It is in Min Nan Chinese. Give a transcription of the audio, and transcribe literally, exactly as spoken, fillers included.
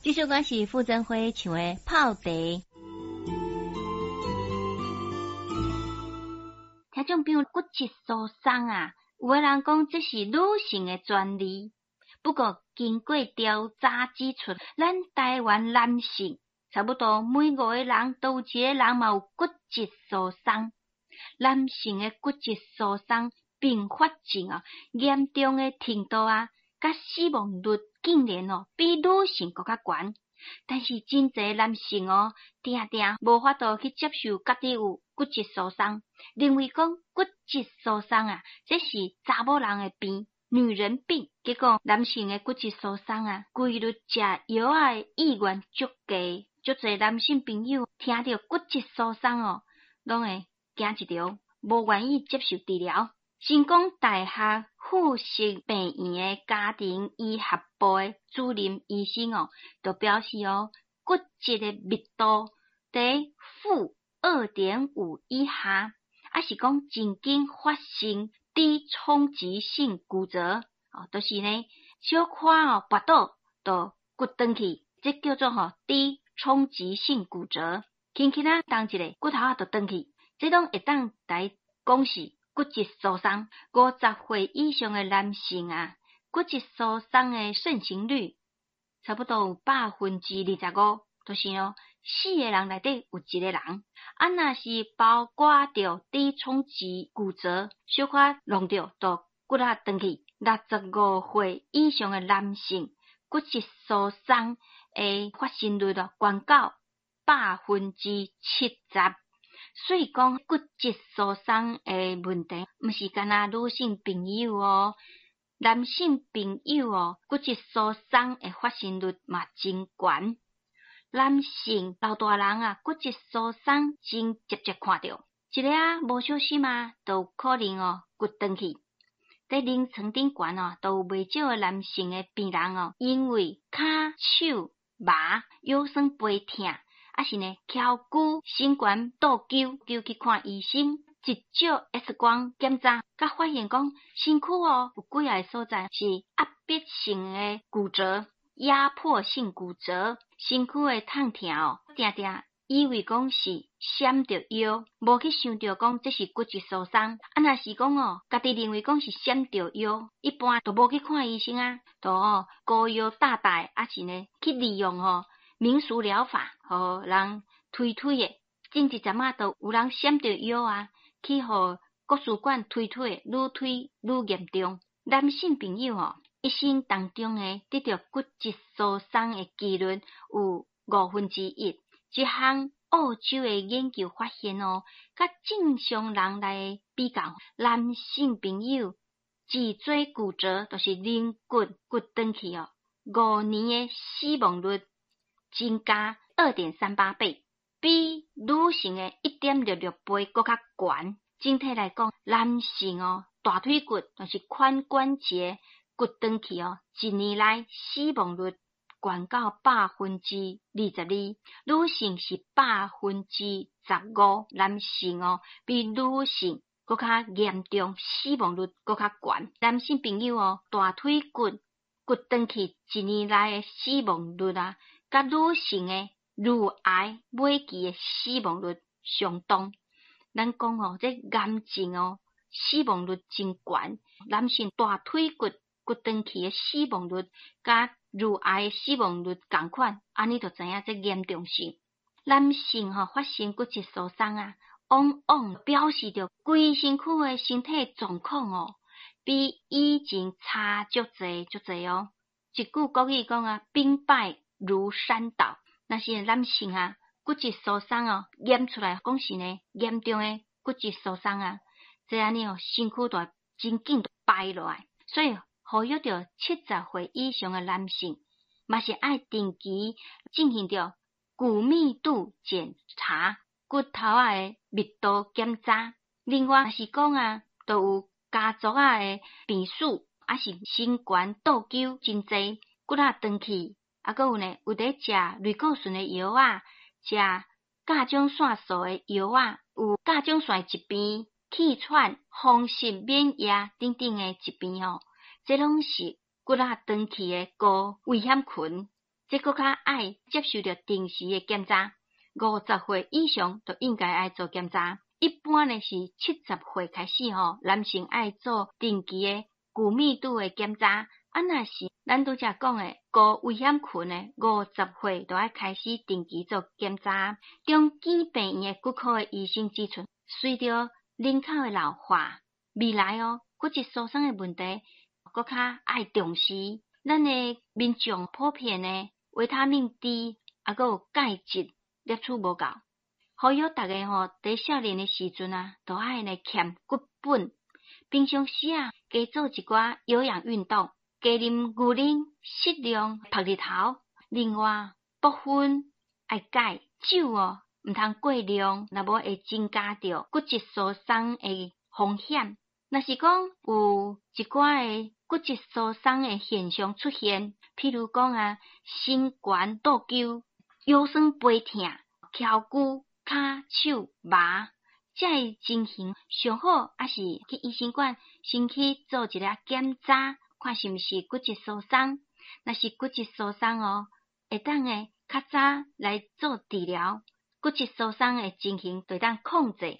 這首歌是傅甄輝唱的《泡茶》。聽眾朋友，骨質疏鬆啊，有的人講這是女性的專利，不過經過調查指出，咱台灣男性差不多每五個人都有一個人嘛有骨質疏鬆。男性的骨質疏鬆併發症啊，嚴重的程度啊，佮死亡率竟然哦比女性閣較懸。但是真濟男性哦，定定無法度去接受家己有骨質疏鬆，認為講骨質疏鬆啊，這是查某人的病，女人病。結果男性的骨質疏鬆啊，幾率食藥仔的意願足低，足濟男性朋友聽著骨質疏鬆哦，攏會驚一著，無願意接受治療。成功大學附屬病院的家庭醫學部的主任醫生哦，就表示哦，骨質的密度佇負二點五以下，抑是講曾經發生低衝擊性骨折，哦，就是呢小可哦跋倒就骨斷去，這叫做吼低衝擊性骨折，輕輕仔動一下骨頭仔就斷去，這攏會當來講是骨質疏鬆。五十歲以上的男性啊，骨質疏鬆的盛行率差不多有百分之二十五，就是哦，四個人內底有一個人。啊，若是包括著低衝擊骨折，小可弄著就骨仔斷去。六十五歲以上的男性，骨質疏鬆的發生率哦，懸到百分之七十。所以講骨質疏鬆的問題，毋是干焦女性朋友哦，男性朋友哦，骨質疏鬆的發生率嘛真懸。男性老大人啊，骨質疏鬆真捷捷看著，一下無小心啊，就有可能哦骨斷去。佇臨床頂懸哦，都有袂少的男性的病人哦，因為跤手麻、腰酸背疼，抑是呢跷骨伸懸倒勾，就去看醫生，一照 X 光檢查，才發現講身軀哦有幾仔個所在是壓迫性的骨折、壓迫性骨折，身軀的痛疼哦，定定以為講是閃著腰，無去想著講這是骨質疏鬆。啊，若是講哦，家己認為講是閃著腰，一般都無去看醫生啊，就哦膏藥貼貼，抑是呢去利用吼民俗療法，予人推推的。前一陣仔就有人閃著腰啊，去予國術館推推，愈推愈嚴重。男性朋友吼，一生當中呢得著骨質疏鬆的幾率有五分之一。這項澳洲的研究發現哦，佮正常人來比較，男性朋友脊椎骨折，就是龍骨骨斷去哦，五年的死亡率增加二點三八倍，比女性的一點六六倍閣較懸。整體來講，男性哦，大腿骨就是髖關節骨斷去哦，一年內死亡率懸到百分之二十二，女性是百分之十五，男性哦比女性閣較嚴重，死亡率閣較懸。男性朋友哦，大腿骨骨斷去一年內的死亡率啊，佮女性的乳癌尾期的死亡率相當。咱講哦，這癌症哦，死亡率真懸。男性大腿骨骨斷去的死亡率，佮乳癌的死亡率仝款，按呢就知影這嚴重性。男性吼發生骨質疏鬆啊，往往表示著規身軀的身體狀況哦，比以前差足濟足濟哦。一句國語講啊，兵敗如山倒。若是男性啊，骨質疏鬆哦，驗出來講是呢嚴重的骨質疏鬆啊，這按呢哦，身軀就會真緊敗落來。所以呼籲著七十歲以上的男性，嘛是愛定期進行著骨密度檢查、骨頭仔的密度檢查。另外，若是講啊，都有家族仔的病史，抑是身懸倒勾真濟，骨仔斷去，啊，閣有呢，有佇食類固醇的藥仔，食甲狀腺素的藥仔，有甲狀腺疾病、氣喘、風濕免疫等等的疾病吼，這攏是骨仔斷去的高危險群。這閣較愛接受著定時的檢查。五十歲以上就應該愛做檢查。一般呢是七十歲開始吼，男性愛做定期的骨密度的檢查。啊，若是咱拄才講的高危險群的，五十歲就愛開始定期做檢查。中基病院的骨科的醫生指出，隨著人口的老化，未來哦骨質疏鬆的問題閣較愛重視。咱的民眾普遍的維他命 D 抑閣有鈣質攝取無夠，呼籲逐家吼佇少年的時陣啊，都愛來儉骨本。平常時啊，加做一寡有氧運動，加啉牛奶，適量曝日頭。另外，部分愛戒酒哦，毋通過量，若無會增加著骨質疏鬆的風險。若是講有一寡的骨質疏鬆的現象出現，譬如講啊，身懸倒勾、腰酸背疼、跷骨、跤手麻，這个情形上好抑是去醫生館先去做一下檢查，看是毋是骨質疏鬆。若是骨質疏鬆哦，會當會較早來做治療，骨質疏鬆的情形就會當控制。